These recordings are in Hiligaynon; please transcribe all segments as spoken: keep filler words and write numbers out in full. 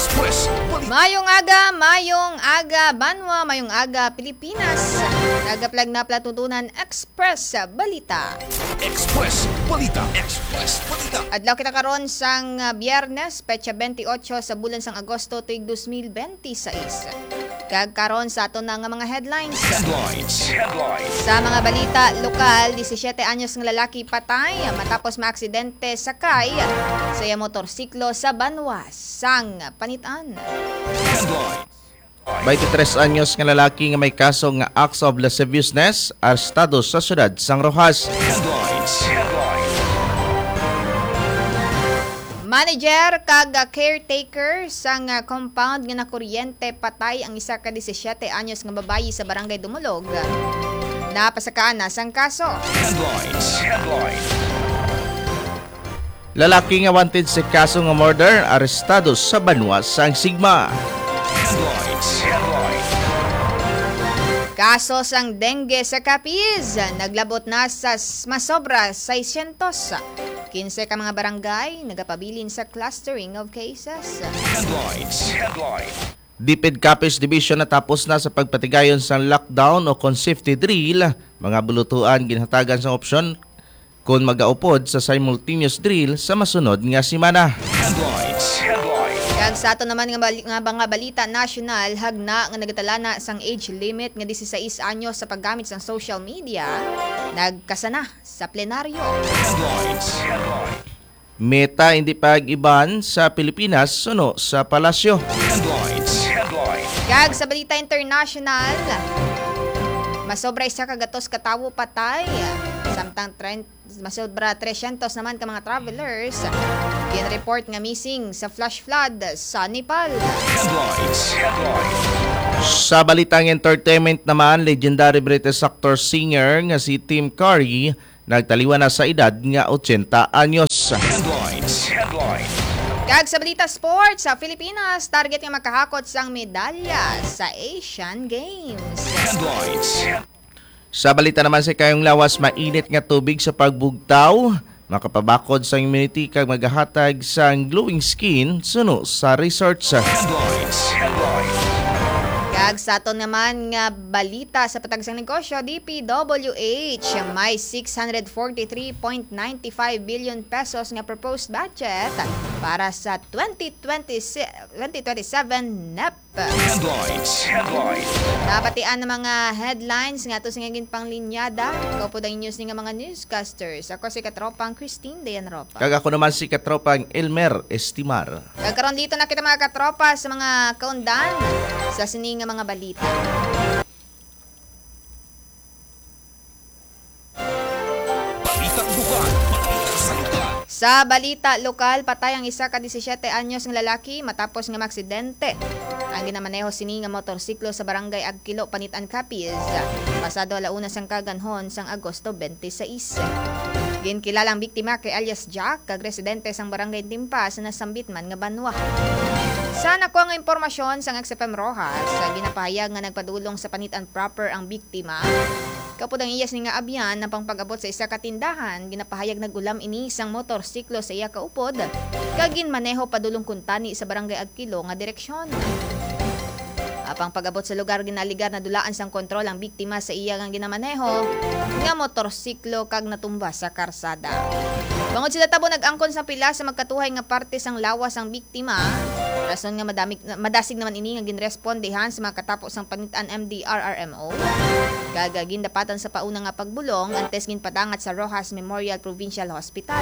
Express Balita. Mayong aga, mayong aga, banwa, mayong aga, Pilipinas. Nagaplag na Platuntunan Express Balita. Express Balita. Express Balita. Adlaw kita karon sang, ah, Biyernes, petsa twenty-eight sa bulan sang Agosto, tuig dos mil benti sais. Kag karon sa ato na nga mga headlines. Headlines. Headlines. Sa mga balita lokal, disisiete anyos nga lalaki patay matapos maaksidente sakay sa iya motorsiklo sa banwa sang Panitan. Headlines. Twenty-tres anyos nga lalaki nga may kaso nga acts of lasciviousness, arestado sa siyudad sang Roxas. Headlines. Headlines. Manager kag caretaker sang compound nga nakuryente patay ang isa ka disisiete anyos nga babayi sa Barangay Dumulog. Napasakaan na sang kaso. Headlines. Headlines. Lalaki nga wanted sa kaso nga murder, arestado sa banwa sang Sigma. Headlines. Headlines. Kaso sang dengue sa Capiz, naglabot na sa s-, masobra seiscientos. Kinse ka mga barangay nagapabilin sa clustering of cases. Headlines. Headlines. DepEd Capiz Division natapos na sa pagpatigayon sang lockdown o kon safety drill, mga bulutuan ginhatagan sang opsyon kon magaupod sa simultaneous drill sa masunod nga semana. Headlines. Headlines. Kag sa ato naman nga bali-, nga mga balita nasyonal, hagna nga nagatalana sang age limit nga disisais anyos sa paggamit sang social media, nagkasana sa plenaryo. Headlines. Headlines. Meta hindi pag-iban sa Pilipinas suno sa palasyo. Headlines. Headlines. Kag sa balita international, masobra isa ka gatos ka tawo patay, samtang tren-, masobra trescientos naman ka mga travelers ginreport nga missing sa flash flood sa Nepal. Headlines. Headlines. Sa balitang entertainment naman, legendary British actor singer nga si Tim Curry nagtaliwan na sa edad nga ochenta anyos. Headlines. Headlines. Kag sa balita sports, sa Pilipinas target nga makahakot sang medalya sa Asian Games. Headlines. Sa balita naman sa kayong lawas, mainit nga tubig sa pagbugtaw makapabakod sa immunity kag magahatag sang glowing skin suno sa research. Headlines. Headlines. Kag sa aton naman nga balita sa patag sang negosyo, D P W H, may six hundred forty-three point nine five billion pesos nga proposed budget para sa twenty twenty-six, twenty twenty-seven NEP. Headlines. Headlines. Nabatian ang mga headlines nga ato sa nga ginpanglinyada. Kaupod ang inyo sini nga mga newscasters. Ako si Katropang Christine Dayan Ropa. Kag ako naman si Katropang Elmer Estimar. Kag karon dito na kita, mga katropa, sa mga kaundan sa sini nga mga balita. Balitang bukal, balita sa lugar. Sa balita lokal, patay ang isa ka disisiete anyos nga lalaki matapos nga maaksidente ang ginamaneho sini nga motorsiklo sa barangay Agkilo, Panitan, Capiz, pasado ala una sang kaganhon sang Agosto twenty-six. Ginkilala ang biktima kay alias Jack, kag residente sang barangay Timpa sa nasambit man nga banwa. Sa nakuha nga impormasyon sang X F M Roxas, ginapahayag nga nagpadulong sa Panitan proper ang biktima. Kaupod ang iya sini nga abyan, ang pangpag-abot sa isa ka tindahan, ginapahayag nag-ulam ini sang motorsiklo sa iya kaupod, kag ginmaneho padulong kuntani sa barangay Agkilo nga direksyon. Apang pag-abot sa lugar, ginaligar nadulaan sang kontrol ang biktima sa iya nga ginamaneho nga motorsiklo kag natumba sa karsada. Bangod sa natabo, nag-angkon sang pila sa magkatuhay nga parte sang lawas ang biktima, rason nga madamig-, madasig naman ini nga ginrespondehan sa mga katapo sang Panitan M D R R M O. Kag gindapatan sa pauna nga pagbulong, antes ginpadangat sa Roxas Memorial Provincial Hospital.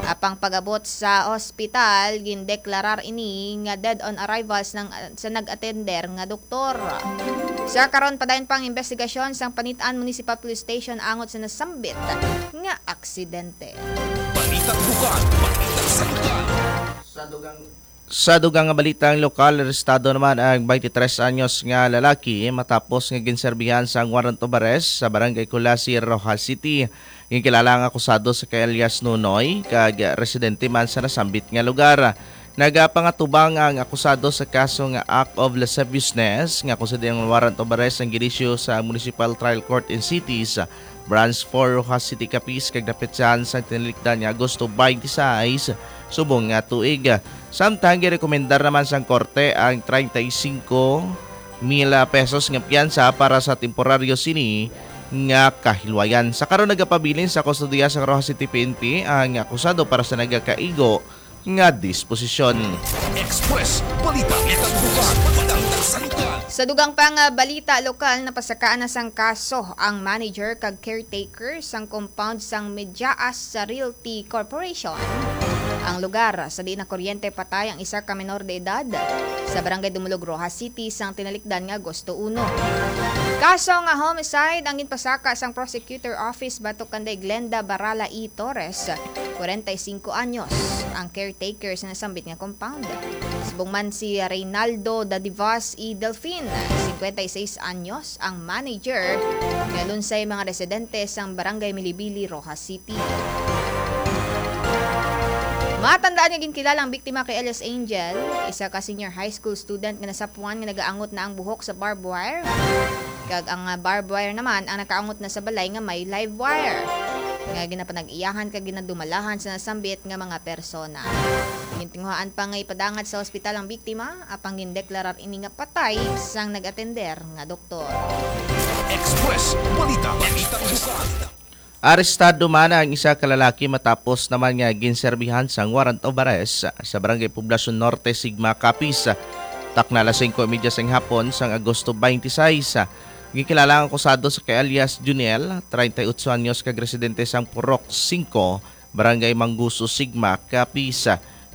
Apang pag-abot sa hospital, gindeklarar ini nga dead on arrivals ng, sa nag-atender nga doktor. Sa karon, padayon pa ang investigasyon sang Panitan Municipal Police Station angot sa nasambit nga aksidente. Balitang bukal, balitang sa lugar. Sa dugang Sa dugang nga balitang lokal, arestado naman ang twenty-tres anyos nga lalaki matapos nga ginserbihan sang warrant of arrest sa Barangay Culasi, Roxas City. Ginkilala ang akusado sa kay alias Nunoy, kag residente man sa nasambit nga lugar. Nagapangatubang ang akusado sa kaso nga act of lasciviousness, nga kung sa diang warrant of arrest ang ginisyu sa Municipal Trial Court in Cities, Branch four, Roxas City, Capiz, kag napetsahan sa tinalikdan nga Agosto twenty-six, subong nga tuig. Samtang girekomendar naman sang korte ang treinta y cinco mil pesos nga piyansa para sa temporaryo sini nga kahilwayan. Sa karon, nagapabilin sa kustodiya sa Roxas City P N P ang akusado para sa nagakaigo nga disposisyon. Express Balita. Balitang Bukal. Balitang Santan. Sa dugang pa nga balita lokal, napasakaan na sang kaso ang manager kag caretaker sang compound sang Medyaas sa Realty Corporation. Ang lugar sa diin nakuryente patay ang isa ka menor de edad sa Barangay Dumulog, Roxas City, sang tinalikdan nga Agosto uno. Kaso nga homicide ang ginpasaka sang prosecutor office batok kanday Glenda Barala E. Torres, kwarenta y singko anyos, ang caretaker sa nasambit nga compound. Subong man si Reynaldo Dadivas E. Delfin, singkwenta y seis anyos, ang manager nga lunsay mga residente sang Barangay Milibili, Roxas City. Matandaan nga ginkilala ang biktima kay alias Angel, isa ka senior high school student nga nasapuan nga nagaangot na ang buhok sa barbed wire. Kag ang, ah, barbed wire naman ang nakaangot na sa balay nga may live wire nga ginapanag-iyahan kag ginadumalahan sa nasambit nga mga persona. Gintinguhaan pa nga ipadangat sa ospital ang biktima, apang gindeklarar ini nga patay sang nag-atender nga doktor. Express Balita. Balitang Bukal. Arestado man ang isa ka lalaki matapos naman nga ginserbihan sang warrant of arrest sa Barangay Poblacion Norte, Sigma, Capiz. Takna alas singko y media sang hapon sang Agosto twenty-six, ginkilala ang akusado sa kay alias Juniel, treinta y ocho anyos, kag residente sang Purok singko, Barangay Manguso, Sigma, Capiz.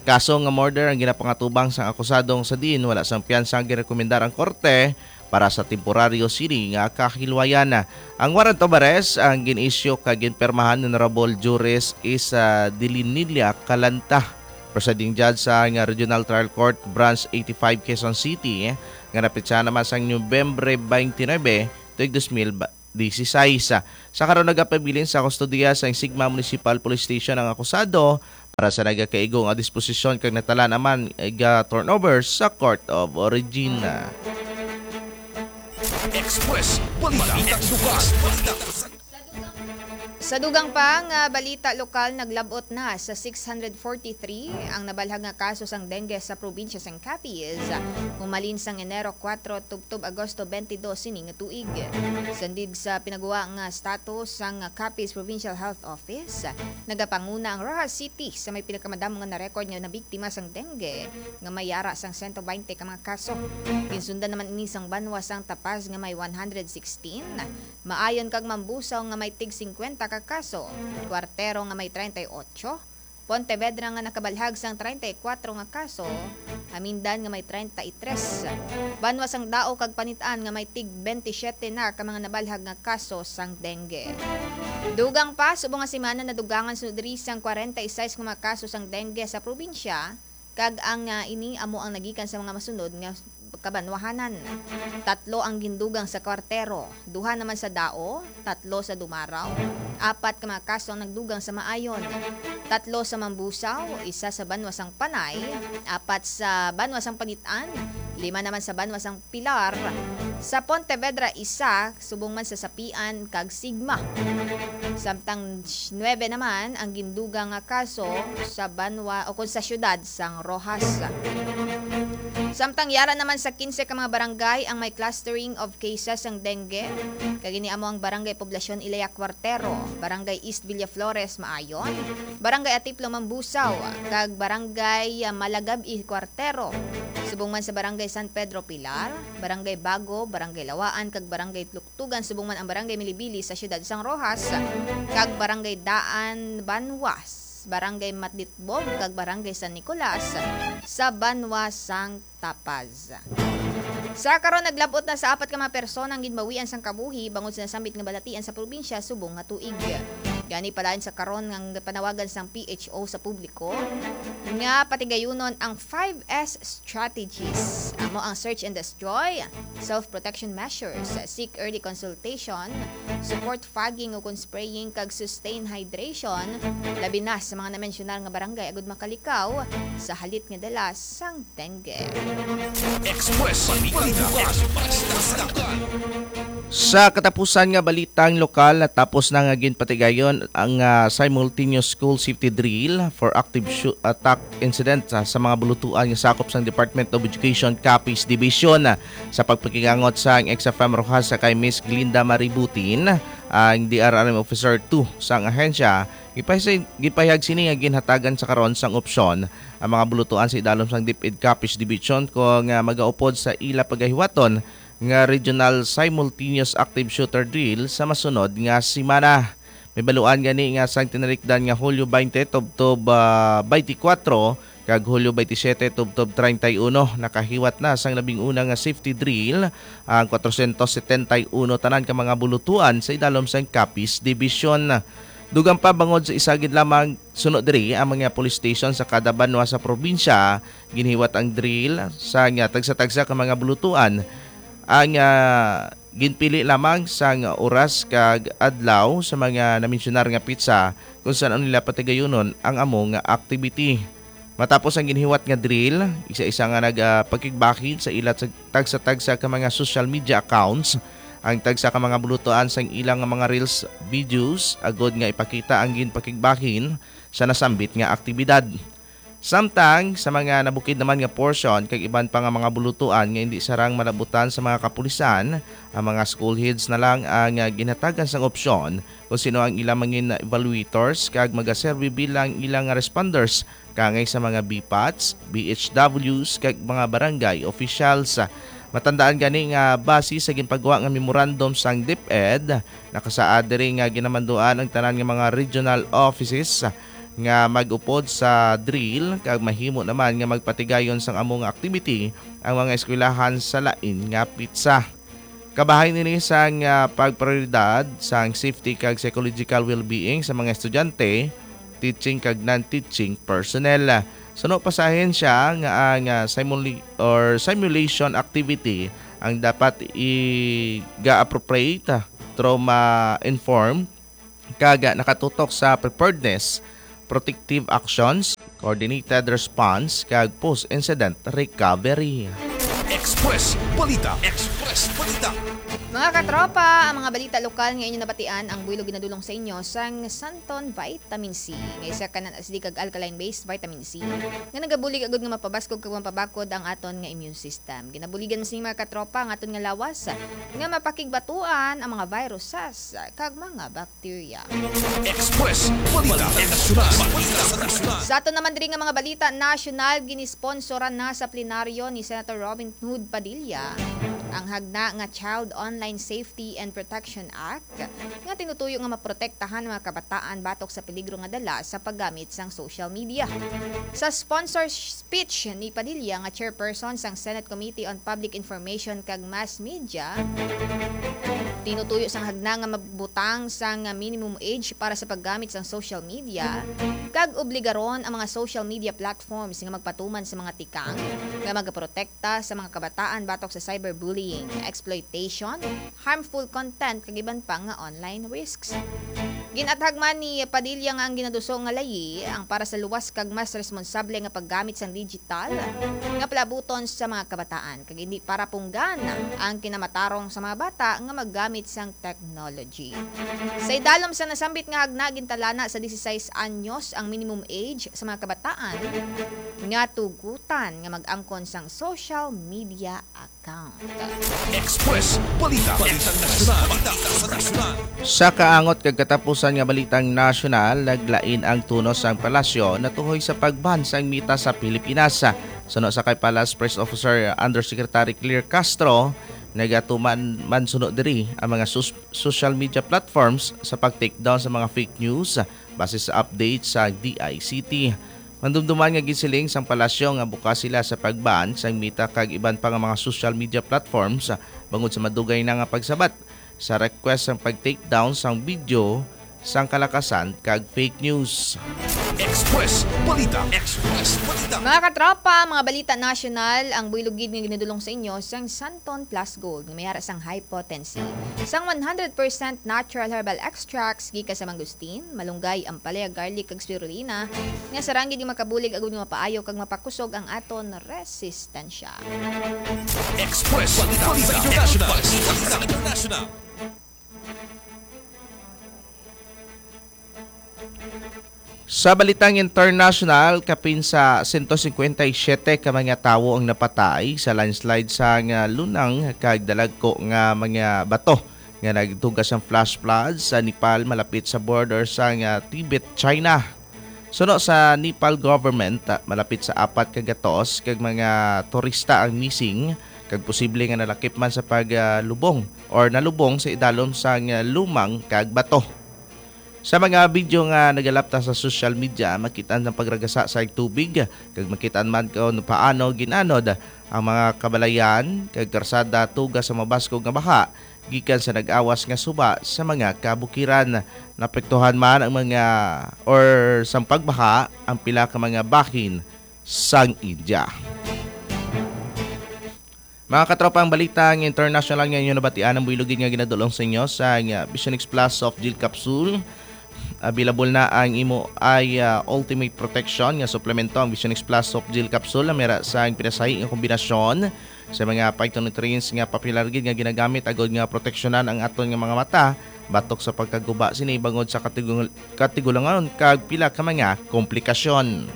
Kaso nga murder ang ginapangatubang sang akusadong sa diin wala sang piyansa ang girekomendar ang korte para sa temporaryo sini nga kahilwayan. Ang warrant of arrest ang gin-issue kag ginpirmahan ni Honorable Juris Isa Dilinilla Calanta, Presiding Judge sa nga Regional Trial Court, Branch eighty-five, Quezon City, nga napetsa naman sang Nobyembre twenty-nine, tuig dos mil dieciséis. Sa karon, nagapabilin sa kustodiya sa Sigma Municipal Police Station ang akusado para sa nagakaigo nga disposisyon kag natala naman ga turnover sa Court of Origin. Express Balita. Balitang Bukal. Sa dugang pa nga balita lokal, naglab-ot na sa six hundred forty-three ang nabalhag nga kaso sang dengue sa probinsya sang Capiz, humalin sang Enero kuwatro tubtob Agosto twenty-dos sini nga tuig. Sandid sa pinagwa nga status sang Capiz Provincial Health Office, nagapanguna ang Roxas City sa may pinakamadamo nga na-record nga nabiktima sang dengue, nga may yara sang sento baynte ka mga kaso. Ginsundan naman ini sang banwa sang Tapaz nga may one hundred sixteen, Maayon kag Mambusaw nga may tig singkwenta ka kaso, Cuartero nga may treinta y ocho, Pontevedra nga nakabalhag sang treinta y cuatro nga kaso, Hamindan nga may treinta y tres, banwa sang Dao kag Panit-an nga may tig bente siyete na ka mga nabalhag nga kaso sang dengue. Dugang pa, subong nga semana nadugangan sunod diri sang kwarenta y sais nga mga kaso sang dengue sa probinsya, kag ang, ah, ini amo ang nagikan sa mga masunod nga kabanwahanan. Tatlo ang gindugang sa Cuartero, duha naman sa Dao, tatlo sa Dumaraw, apat ka mga kaso ang nagdugang sa Maayon, tatlo sa Mambusaw, isa sa banwa sang Panay, apat sa banwa sang Panit-an, lima naman sa banwa sang Pilar, sa Pontevedra, isa, subong man sa Sapian kag Sigma. Samtang nuebe naman ang gindugang nga kaso sa banwa o kon sa siyudad sang Roxas. Samtang yara naman sa kinse ka mga barangay ang may clustering of cases sang dengue, kag ini amo ang Barangay Poblacion Ilaya Cuartero, Barangay East Villaflores Maayon, Barangay Atiplo Mambusaw, kag Barangay, ah, Malagab-i Cuartero, subong man sa Barangay San Pedro Pilar, Barangay Bago, Barangay Lawaan, kag Barangay Tluktugan, subong man ang Barangay Milibili sa siyudad sang Roxas, kag Barangay Daan Banwas, Barangay Matditbog, kag Barangay San Nicolas sa banwa sang Tapaz. Sa karon, naglab-ot na sa apat ka mga persona ang ginbawian sang kabuhi bangod sa nasambit nga balatian sa probinsya subong nga tuig. Gani, palain sa karon nga panawagan sang P H O sa publiko nga patigayunon ang five S strategies. Amo ang search and destroy, self-protection measures, seek early consultation, support fogging o kon spraying, kag sustain hydration, labi na sa mga namensyonar nga barangay, agud makalikaw sa halit nga dala sang dengue. Express Balita. Sa katapusan nga balitang lokal, natapos na nga ginpatigayon ang, ah, simultaneous school safety drill for active shoo-, attack incident, ah, sa mga bulutuan nga sakop sang Department of Education Capiz Division. Sa pagpakigangot sang X F M Rojas sa kay Miss Glinda Maributin, ang D R R M Officer two sang ahensya, gipahis-, gipahayag sini nga ginhatagan sa karon sang opsyon ang mga bulutuan sa idalom sang DepEd Capiz Division kung, ah, magaupod sa ila pagahiwaton nga Regional Simultaneous Active Shooter Drill sa masunod nga semana. Mahibaluan gani nga sang tinalikdan nga Hulyo twenty tubtob, ah, twenty-four kag Hulyo twenty-seven tubtob treinta y uno, nakahiwat na sang labing una nga safety drill ang kwatrosyentos setenta y uno tanan ka mga bulutuan sa idalom sang Capiz Division. Dugang pa, bangod sa isa gid lamang suno diri ang mga police station sa kada banwa sa probinsya, ginhiwat ang drill sa nga tagsa-tagsa ka mga bulutuan. Ang, ah, ginpili lamang sang oras kag adlaw sa mga namensyunar nga petsa kung san-o nila patigayunon ang amo nga activity. Matapos ang ginhiwat nga drill, isa-isa nga nag, ah, pagkigbahin sa ila tag-, tagsa-tagsa ka mga social media accounts ang tagsa ka mga bulutuan sang ilang mga reels, videos, agod nga ipakita ang ginpakigbahin sa nasambit nga aktibidad. Samtang sa mga nabukid naman nga portion kag iban pa nga mga bulutuan nga indi sarang malabutan sa mga kapulisan, ang mga school heads na lang ang, ah, ginhatagan sang opsyon kung sino ang ilang mangin evaluators kag magaserbi bilang ilang responders kangay sa mga B PATs, B H Ws, kag mga barangay officials. Matandaan gani nga base sa ginpagwa nga memorandum sang DepEd, nakasaad diri nga ginamanduan ang tanan nga mga regional offices nga mag-upod sa drill kag mahimo naman nga magpatigayon sang amo nga activity ang mga eskwelahan sa lain nga petsa. Kabahin ini sang, ah, pagprioridad sang safety kag psychological well-being sa mga estudyante, teaching kag non-teaching personnel. Suno pa sa ahensya nga ang, ah, simuli-, or simulation activity ang dapat i-ga-appropriate, trauma-informed, kag nakatutok sa preparedness, protective actions, coordinated response, kag post-incident recovery. Express Balita. Express Balita. Mga katropa, ang mga balita lokal nga inyo nabatian, ang buylog ginadulong sa inyo sang Santon Vitamin C, nga isa ka non-acidic kag alkaline-based vitamin C nga nagabulig agud nga mapabaskog kag mapabakod ang aton nga immune system. Ginabuligan man sini, mga katropa, ang aton nga lawas nga mapakigbatuan ang mga viruses kag mga bacteria. Express Balita Nasyonal. Sa aton naman diri nga mga balita nasyonal, ginisponsoran na sa plenaryo ni Senator Robin Hood Padilla ang hagna nga Child Online Safety and Protection Act nga tinutuyo nga maprotektahan ang mga kabataan batok sa peligro nga dala sa paggamit sang social media. Sa sponsor speech ni Padilla nga chairperson sang Senate Committee on Public Information kag Mass Media, tinutuyo sang hagna nga magbutang sang minimum age para sa paggamit sang social media kag obligaron ang mga social media platforms nga magpatuman sa mga tikang nga magaprotekta sa mga kabataan batok sa cyberbullying, exploitation, harmful content, kag iban pa nga online risks. Gin-athag man ni Padilla nga ang ginaduso nga layi ang para sa luwas kag mas responsable nga paggamit sang digital nga palabuton sa mga kabataan, kag indi para punggan ang kinamatarong sa mga bata nga maggamit sang technology. Sa idalom sa nasambit nga hagna, gintalana sa dieciséis anyos ang minimum age sa mga kabataan nga tugutan nga mag-angkon sang social media account. Express Balita International. Sa kaangot kag katapusan nga balitang nasyonal, naglain ang tono sang palasyo natuhoy sa pag-ban sang Meta sa Pilipinas. Suno sa kay Palace Press Officer Undersecretary Claire Castro, nagatuman man suno diri ang mga sus-, social media platforms sa pag-take down sa mga fake news base sa update sa D I C T. Mandumduman nga gisiling sang palasyo nga bukas sila sa pag-ban sang Meta kag iban pa nga mga social media platforms bangod sa madugay na nga pagsabat sa request sang pag-take down sang video sang kalakasan kag fake news. Express Balita. Express Balita. Mga katropa, mga balita nasyonal, ang buylog gid nga ginadulong sa inyo sang Santon Plus Gold nga may ara sang high potency sang one hundred percent natural herbal extracts gikan sa mangosteen, malunggay, ampalaya, garlic, kag spirulina, nga sarang gid nga makabulig agud nga mapaayo kag mapakusog ang aton resistensya. Express Balita International. International. Sa balitang international, kapin sa sento cincuenta y siete ka mga tawo ang napatay sa landslide sa nga lunang kag dalagko nga mga bato nga nagtuga sang flash flood sa Nepal, malapit sa border sa nga Tibet, China. Suno sa Nepal government, ah, malapit sa apat ka gatos kag mga turista ang missing kag posible nga nalakip man sa paglubong or nalubong sa idalom sang lumang kag bato. Sa mga video nga nagalapta sa social media, makit-an ang pagragasa sa tubig, kag makit-an man kon paano ginanod ang mga kabalayan kag karsada tuga sa mabaskog nga baha gikan sa nag-awas nga suba sa mga kabukiran. Naapektuhan man ang mga or sang pagbaha ang pila ka mga bahin sang India. Mga katropa, ang balita nga international nga inyo nabatian ang buylog gid nga ginadulong sa inyo sa, nga, Vision X Plus Soft Gel Capsule. Available na ang imo eye, ah, ultimate protection nga suplemento, ang Vision X Plus Soft Gel Capsule. Ang mera sa pinasahi nga kombinasyon sa mga phytonutrients nga popular gid nga ginagamit agod nga proteksyonan ang aton nga mga mata batok sa pagkaguba sini bangod sa katigul-, katigulangon kag pila ka mga komplikasyon.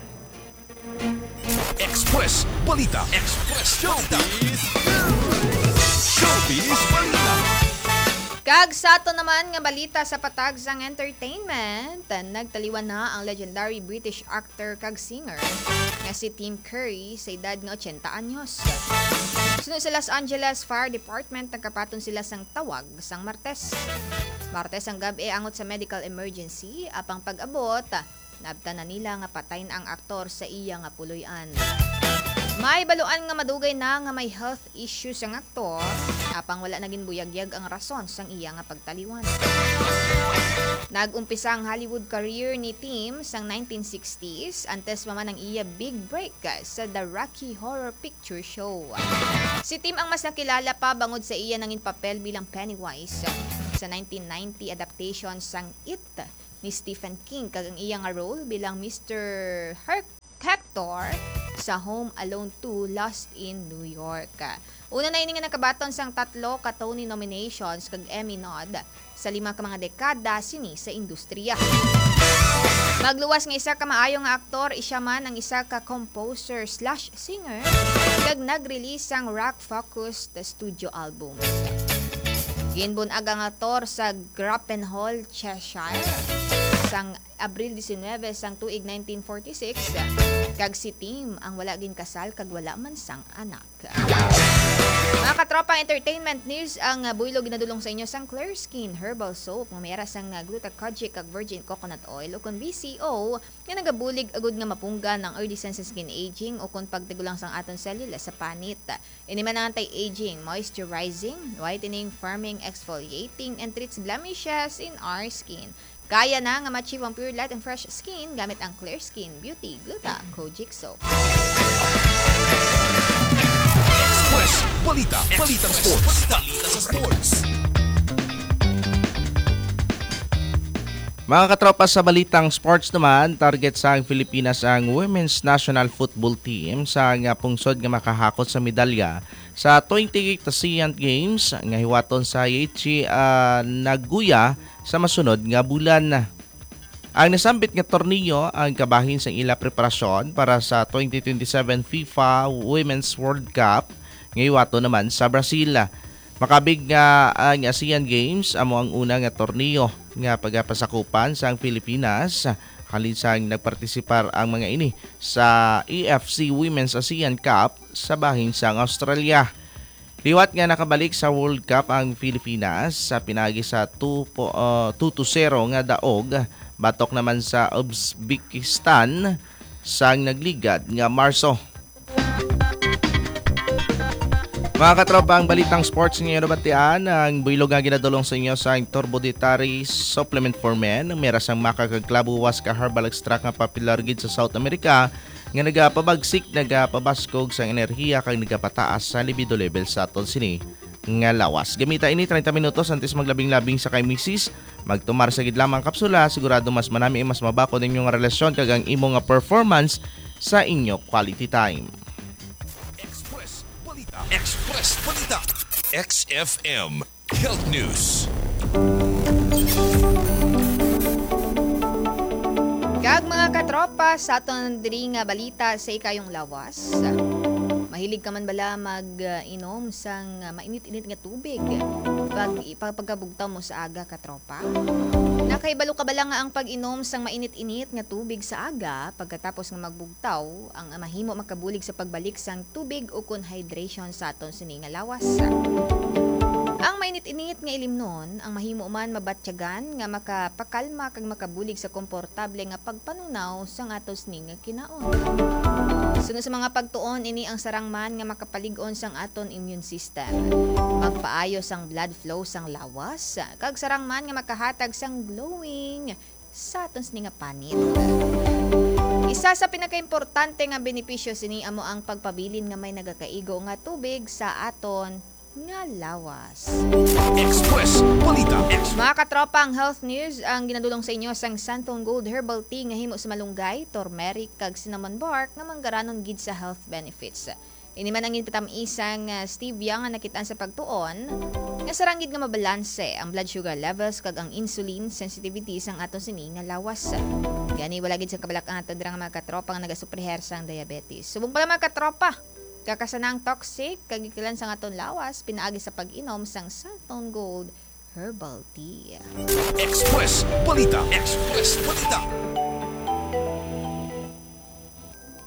Express Balita. Express Showbiz. Showbiz Balita. Kag sa ato naman nga balita sa patag sang entertainment, nagtaliwan na ang legendary British actor kag singer nga si Tim Curry sa edad nga ochenta anyos. Suno sa Los Angeles Fire Department, nagkaphaton sila sang tawag sang Martes. Martes ang gab-i angot sa medical emergency, apang pag-abot, naabtan na nila nga patay na ang aktor sa iya nga puloy-an. May baluan nga madugay na nga may health issues ang aktor, apang wala na ginbuyagyag ang rason sang iya nga pagtaliwan. Nag-umpisa ang Hollywood career ni Tim sang nineteen sixties, antes pa man ang iya big break sa The Rocky Horror Picture Show. Si Tim ang mas nakilala pa bangod sa iya nangin papel bilang Pennywise sa nineteen ninety adaptation sang It ni Stephen King, kag ang iya nga role bilang Mister Her-, Hector sa Home Alone two, Lost in New York. Una na ini nga nakabaton sang tatlo ka Tony nominations kag Emmy nod sa lima ka mga dekada sini sa industriya. Magluwas nga isa ka maayo nga aktor, siya man ang isa ka composer slash singer, kag nag-release sang rock-focused studio album. Ginbun-ag ang aktor sa Grappenhall, Cheshire, sang Abril diecinuebe sang tuig nineteen forty-six, kag si Tim ang wala ginkasal kag wala man sang anak. Mga katropa, entertainment news ang, uh, buylog ginadulong sa inyo sang Clear Skin Herbal Soap nga may ara sang, uh, gluta kojic kag virgin coconut oil, o kon V C O, nga nagabulig agud nga mapunggan ang early signs sa skin aging o kon pagtigulang sang aton selula sa panit. Ini man ang anti-aging, moisturizing, whitening, firming, exfoliating, and treats blemishes in our skin. Kaya na nga ma-achieve ang pure light and fresh skin gamit ang Clear Skin Beauty Gluta Kojic Soap. Express Balita. Balitang sports. Balita sa sports. Mga katropa, sa balitang sports naman, target sang Pilipinas ang women's national football team sa nga pungsod nga makahakot sa medalya sa twenty-eight ASEAN Games nga hiwaton sa Aichi, ah, Nagoya sa masunod nga bulan. Ang nasambit nga torneo ang kabahin sang ila preparasyon para sa twenty twenty-seven FIFA Women's World Cup nga hiwaton naman sa Brazil. Makabig nga ang ASEAN Games amo ang una nga torneo nga pagapasakupan sang Pilipinas halin sang nagpartisipar ang mga ini sa A F C Women's ASEAN Cup sa bahin sang Australia. Liwat nga nakabalik sa World Cup ang Pilipinas sa pinaagi sa two po, ah, two to zero nga daog batok naman sa Uzbekistan sang nagligad nga Marso. Mga katropa, ang balitang sports nga inyo nabatian, ang buylog nga ginadulong sa inyo sa Turbo Dietary Supplement for Men, ang mera sang maca kag clavo, huasca herbal extract nga popular gid sa South America, nga nagapabagsik, nagapabaskog sang enerhiya, kag nagapataas sa libido level sa aton sini nga lawas. Gamita ini treinta minutos antes maglabing-labing sa kay misis. Magtumar sa gid lamang ang kapsula, sigurado mas manami, mas mabakod ang inyong relasyon kag ang imo nga performance sa inyo quality time. Express Balita. Express Balita. X F M Health News. Ag mga katropa, sa aton diri nga balita sa ikayong lawas, mahilig ka man bala mag-inom sang mainit-init nga tubig pag, pag pagkabugtaw mo sa aga, katropa? Nakahibalo ka bala nga ang pag-inom sang mainit-init nga tubig sa aga pagkatapos nga magbugtaw ang mahimo makabulig sa pagbalik sang tubig ukon hydration sa aton sini nga lawas? Ang mainit-init nga ilimnon ang mahimo man mabatyagan nga makapakalma kag makabulig sa komportable nga pagpanunaw sang aton sini nga kinaon. Suno sa mga pagtuon, ini ang sarang man nga makapalig-on sang aton immune system, magpaayo sang blood flow sang lawas, kag sarang man nga makahatag sang glowing sa aton sini nga panit. Isa sa pinakaimportante nga benepisyo sini amo ang pagpabilin nga may nagakaigo nga tubig sa aton nga lawas. Express Balita. Express. Mga katropa, ang health news ang ginadulong sa inyo sang Santon Gold Herbal Tea nga himo sa malunggay, turmeric, kag cinnamon bark nga manggaranon gid sa health benefits. Ini man ang ginpatamis sang, ah, stevia nga nakit-an sa pagtuon nga sarang gid nga mabalanse ang blood sugar levels kag ang insulin sensitivity sang aton sini nga lawas. Gani, wala gid sa kabalak-an ato dira nga mga katropa nga nagasupriher sang diabetes. Subong pala, mga katropa, kakasanang toxic kag gikilan sang aton lawas pinaagi sa pag-inom sang Santon Gold Herbal Tea. Express Balita. Express Balita.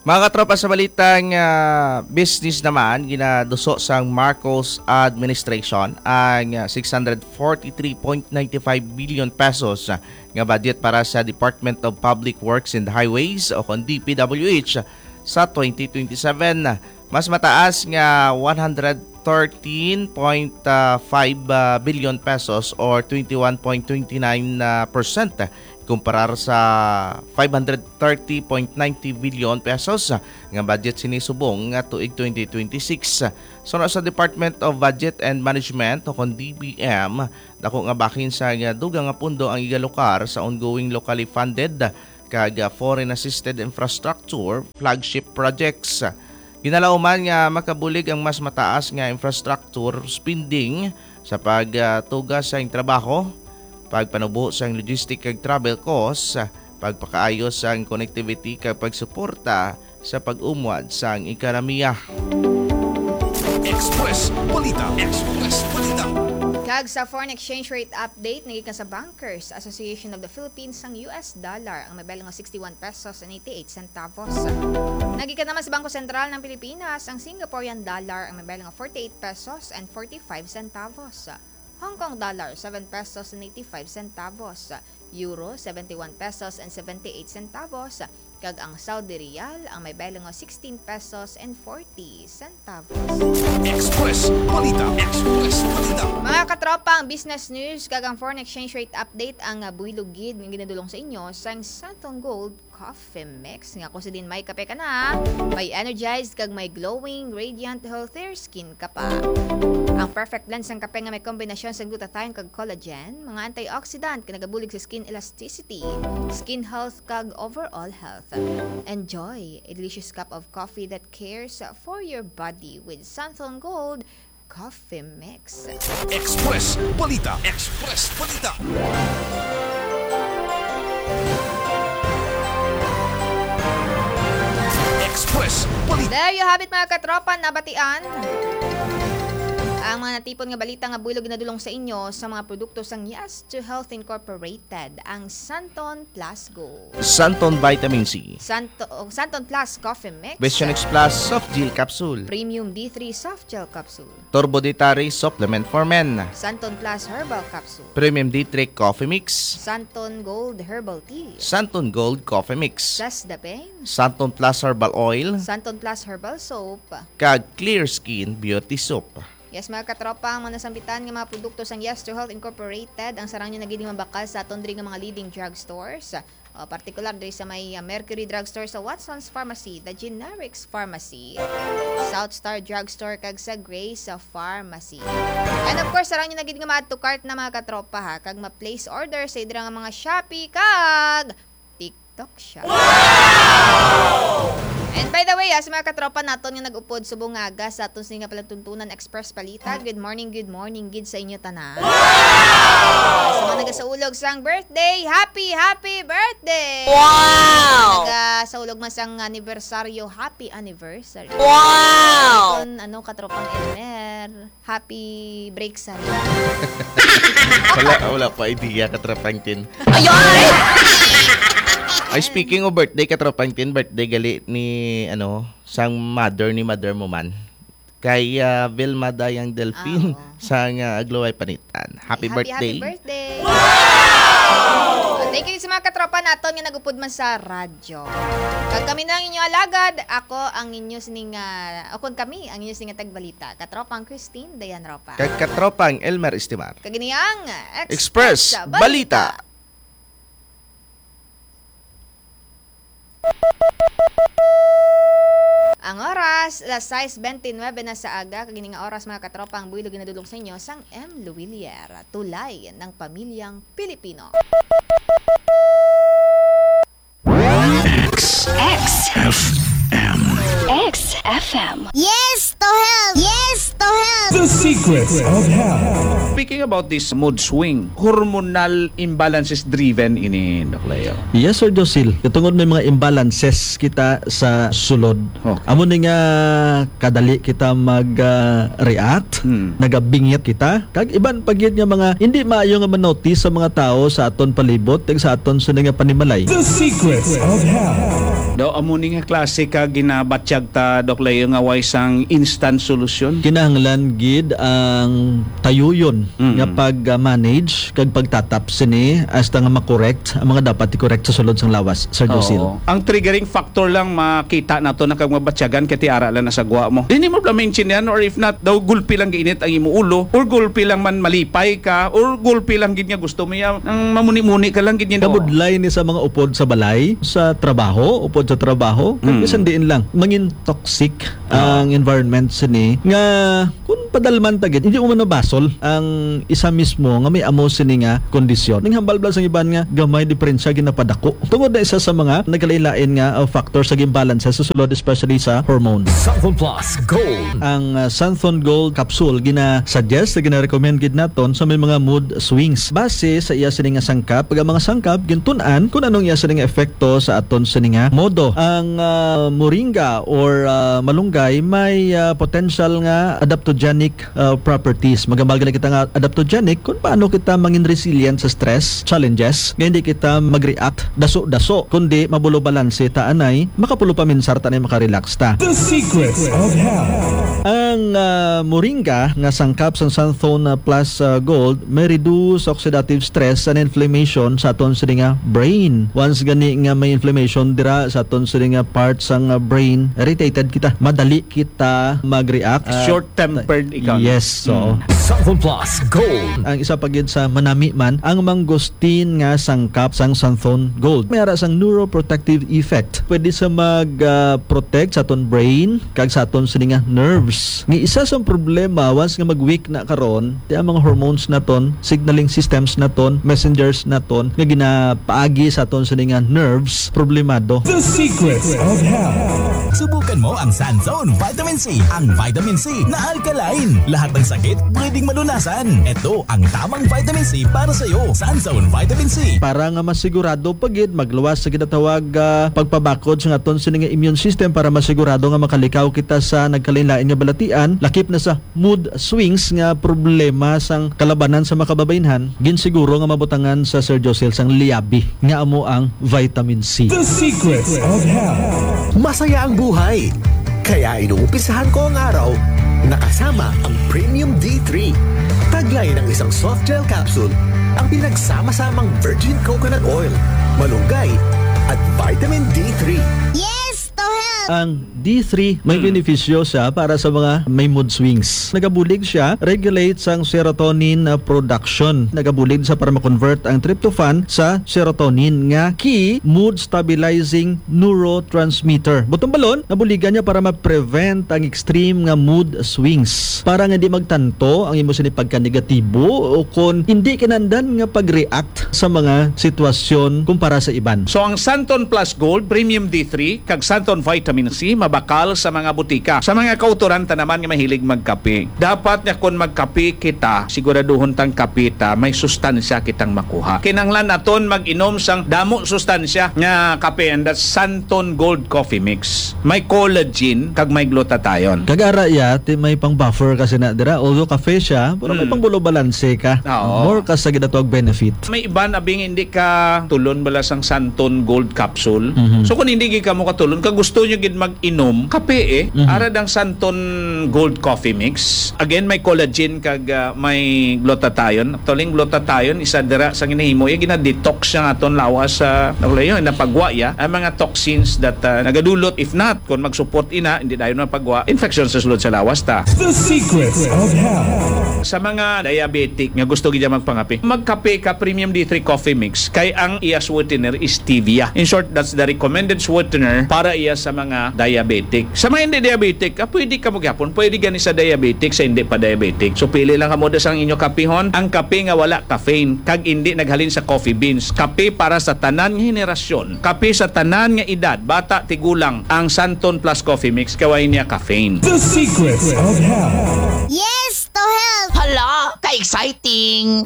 Mga katropa, sa balitang, ah, business naman, ginaduso sang Marcos administration ang, ah, six hundred forty-three point nine five billion pesos, ah, nga budget para sa Department of Public Works and Highways o kon D P W H sa twenty twenty-seven. Mas mataas nga one hundred thirteen point five billion pesos or twenty-one point twenty-nine percent kumparar sa five hundred thirty point ninety billion pesos nga budget sini subong nga tuig twenty twenty-six. Suno sa Department of Budget and Management o kon D B M, dako nga bahin sa nga dugang nga pundo ang igalokar sa ongoing locally funded kag foreign assisted infrastructure flagship projects. Ginalauman nga makabulig ang mas mataas nga infrastructure spending sa pagtuga sang trabaho, pagpanubo sang logistic kag travel costs, pagpakaayo sang connectivity kag pagsuporta sa pag-umwad sang ekonomiya. Express Balita. Express Balita. Kag sa foreign exchange rate update, nagikan sa Bankers Association of the Philippines, ang U S dollar ang may belo nga sixty-one pesos and eighty-eight centavos. Nagikan naman sa Bangko Sentral ng Pilipinas ang Singaporean dollar ang may belo nga forty-eight pesos and forty-five centavos. Hong Kong dollar, seven pesos and eighty-five centavos. Euro, seventy-one pesos and seventy-eight centavos. Kag ang Saudi Riyal, ang may belo nga sixteen pesos and forty centavos. Express Balita. Express Balita. Mga katropa, ang business news kag ang foreign exchange rate update ang, ah, buylog gid nga ginadulong sa inyo sang Santon Gold Coffee Mix. Nga kung sa din may kape ka na, may energized kag may glowing, radiant, healthier skin ka pa. Ang perfect blend sang kape nga may kombinasyon sa glutathione kag collagen, mga antioxidant nga nagabulig sa skin elasticity, skin health kag overall health. Enjoy a delicious cup of coffee that cares for your body with Santon Gold Coffee Mix. Express Balita. Express Balita. Express Balita. There you have it, mga katropa, nabatian ang mga natipon nga balita nga buylog ginadulong sa inyo sa mga produkto sang Yes to Health Incorporated, ang Santon Plus Go. Santon Vitamin C. Santo-, oh, Santon Plus Coffee Mix. Vision X Plus Soft Gel Capsule. Premium D three Soft Gel Capsule. Turbo D three Supplement for Men. Santon Plus Herbal Capsule. Premium D three Coffee Mix. Santon Gold Herbal Tea. Santon Gold Coffee Mix. Plus the Pain. Santon Plus Herbal Oil. Santon Plus Herbal Soap. Kag Clear Skin Beauty Soap. Yes, mga katropa, ang mga nasambitan nga mga produkto sang Yes to Health Incorporated, ang sarang nyo na gid mabakal sa aton diri nga mga leading drugstores. O, partikular diri sa may, ah, Mercury Drugstore, sa Watson's Pharmacy, The Generics Pharmacy, South Star Drugstore, kag sa Grace Pharmacy. And of course, sarang nyo na gid nga ma-add to cart na, mga katropa, ha, kag ma-place order sa dira nga mga Shopee kag TikTok Shop. Wow! And by the way, ah, sa mga katropa naton nga nag-upod subong nga aga sa aton sini nga Palatuntunan Express Balita, good morning, good morning gid sa inyo tanan. Sa mga nagasaulog sang birthday, happy, happy birthday! Wow! Nagasaulog man sang anibersaryo, happy anniversary. Wow! Kon ano, katropang Elmer, happy break sa rin. Wala, wala pa idea, katropang Tin. Ayoy! Ay, speaking of birthday, katropang Tin, birthday gali ni, ano, sang mother ni mother mo man. Kay ah, Vilma Dayang Delfin Ah, oo. sang ah, Agluway Panitan. Happy Happy, birthday. Happy birthday! Thank you sa mga katropa naton nga nagupod man sa radyo. Kag kami na ang inyo alagad, ako ang inyo sining, ah, o kung kami ang inyo sining tagbalita, katropang Christine Dayan Ropa. Kag katropang Elmer Estimar. Kag ini ang Express Balita. Ang oras, alas sais bente nuebe na sa aga, kag ini nga oras, mga katropa, ang buhilo ginadulong sa inyo sang M. Luwilier, tulay ng pamilyang Pilipino. X F M. X F M. Yes to help! Yes to help! The Secrets of Health. Speaking about this mood swing, hormonal imbalances driven ini, Doc Leo. Yes, Sir Josil. Katungod may mga imbalances kita sa sulod. Okay. Amo ni nga kadali kita mag-react, Hmm. nagabingit kita. Kag iban pa gyud nga mga hindi maayo nga manotice sa mga tawo sa aton palibot kag sa aton sini nga panimalay. The Secrets of Health. Daw amo ni nga klase ka ginabatyag ta, Doc Leo, nga way sang instant solusyon. Kinahanglan gid ang tayuyon Mm. nga pag-manage kag pagtatap sini hasta nga makorek ang mga dapat i-correct sa sulod sang lawas, Sir Josil. Oo. Ang triggering factor lang makita nato na kag mabatyagan kay ti ara lang na sa gwa mo. Dili mo bala maintindihan, or if not, daw gulpi lang giinit ang imo ulo, or gulpi lang man malipay ka, or gulpi lang gid nga gusto mo ya, ang mamuni-muni ka lang gid niya. Kabudlay ni sa mga upod sa balay, sa trabaho, upod sa trabaho, kag Mm. bisan diin lang, mangin toxic ang environment sini nga kung padalman ta gid, hindi mo man nabasol ang isa mismo nga may amo sini nga kondisyon. Ning hambal bala sang iban nga gamay diperensya ginapadako. Tungod na isa sa mga nagkalain-lain nga uh, factor sa imbalance sa sulod, especially sa hormones. Santhon Plus Gold. Ang uh, Santhon Gold capsule gina-suggest, gina-recommend gid naton sa may mga mood swings. Base sa iya sini nga sangkap, pag ang mga sangkap gintun-an kung anong iya sini nga epekto sa aton sini nga modo. Ang uh, moringa or uh, malunggay may uh, potential nga adaptogenic uh, properties. Magambal gali kita nga adaptogenic kung paano kita mangin resilient sa stress, challenges, nga hindi kita mag-react daso-daso, kundi mabulo balanse ta anay, makapulo pa minsar ta anay, makarelax ta. The Secrets of Health. Ang ah, moringa nga sangkap sang Santhon ah, Plus ah, Gold may reduce oxidative stress and inflammation sa aton sini nga brain. Once gani nga may inflammation dira sa aton sini nga part sang ah, brain, irritated kita. Madali kita mag-react. Ah, Short-tempered ikaw. Yes, so. Mm. Santhon Plus Gold. Ang isa pa gid sa manami man, ang mangosteen nga sangkap sang Santhon Gold. May ara sang neuroprotective effect. Pwede sa mag-protect sa aton brain kag sa aton sini nga nerves. Nga isa sang problema once nga mag-weak na karon, ti ang mga hormones naton, signaling systems naton, messengers naton nga ginapaagi sa aton sini nga nerves, problemado. The Secrets of Health. Subukan mo ang Sanzone Vitamin C. Ang vitamin C na alkaline. Lahat ng sakit pwedeng malunasan. Ito ang tamang vitamin C para sa iyo. Sanzone Vitamin C. Para nga masigurado pa gid magluwas sa ginatawag ah, pagpabakod sa aton sini nga immune system, para masigurado nga makalikaw kita sa nagkalain-lain nga balatian, lakip na sa mood swings nga problema sang kalabanan sa makababainhan, ginsiguro nga mabutangan sa Sir Josel sang liabi nga amo ang vitamin C. The Secrets of Health. Masaya ang buhay. Kaya inuumpisahan ko ang araw na kasama ang Premium D three. Taglay ng isang soft gel capsule ang pinagsama-samang virgin coconut oil, malunggay, at vitamin D three. Yes to help! Ang D three may benepisyo siya para sa mga may mood swings. Nagabulig siya, regulate sang serotonin uh, production. Nagabulig siya para ma-convert ang tryptophan sa serotonin nga key mood stabilizing neurotransmitter. Butong balon, nabuligan niya para ma-prevent ang extreme nga mood swings. Para nga di magtanto ang imo sini pagka-negatibo o kon hindi kinahanglan nga pag-react sa mga sitwasyon kumpara sa iban. So ang Santon Plus Gold, Premium D three, kag Santon Vitamin C, mabakal sa mga butika. Sa mga kautoran ta naman nga mahilig magkape, dapat nga kon magkape kita, siguraduhon tang kape ta may sustansya kitang makuha. Kinahanglan naton mag-inom sang damo sustansya nga kape, and that's Santon Gold Coffee Mix. May collagen kag may glutathione. Kag ara iya, ti may pang buffer kasi na dira. Although cafe siya, pero may Mm. pang balanse ka. Oo. More ka sa ginatawag benefit. May iban abing hindi ka tulon bala sang Santon Gold Capsule. Mhm. So kung hindi gid kamo katulon, kag gusto nyo gid mag-inom kape eh, Mhm. ara dang Santon Gold Coffee Mix. Again, may collagen kag ah, may glutathione. Actually, ang glutathione isa dira sa ginahimo, iya gina-detox siya nga aton lawas sa nagulayo, napagwa iya ang mga toxins that ah, nagadulot. If not, kung mag-support ina, hindi dayon mapagwa infection sa sulod sa lawas ta. The Secrets of Health. Sa mga diabetic nga gusto gid magpangape, magkape ka Premium D three Coffee Mix kay ang iya sweetener is stevia. In short, that's the recommended sweetener para iya sa mga diabetic. Sa mga hindi diabetic, ah, pwede ka mo gyapon, pwede gani sa diabetic, sa hindi pa diabetic. So pili lang kamo da sang inyo kapihon, ang kape nga wala caffeine kag hindi naghalin sa coffee beans. Kape para sa tanan nga henerasyon, kape sa tanan nga edad, bata, tigulang, ang Santon Plus Coffee Mix kay way niya caffeine. The Secrets of Health. Yes to health! Hala, ka-exciting!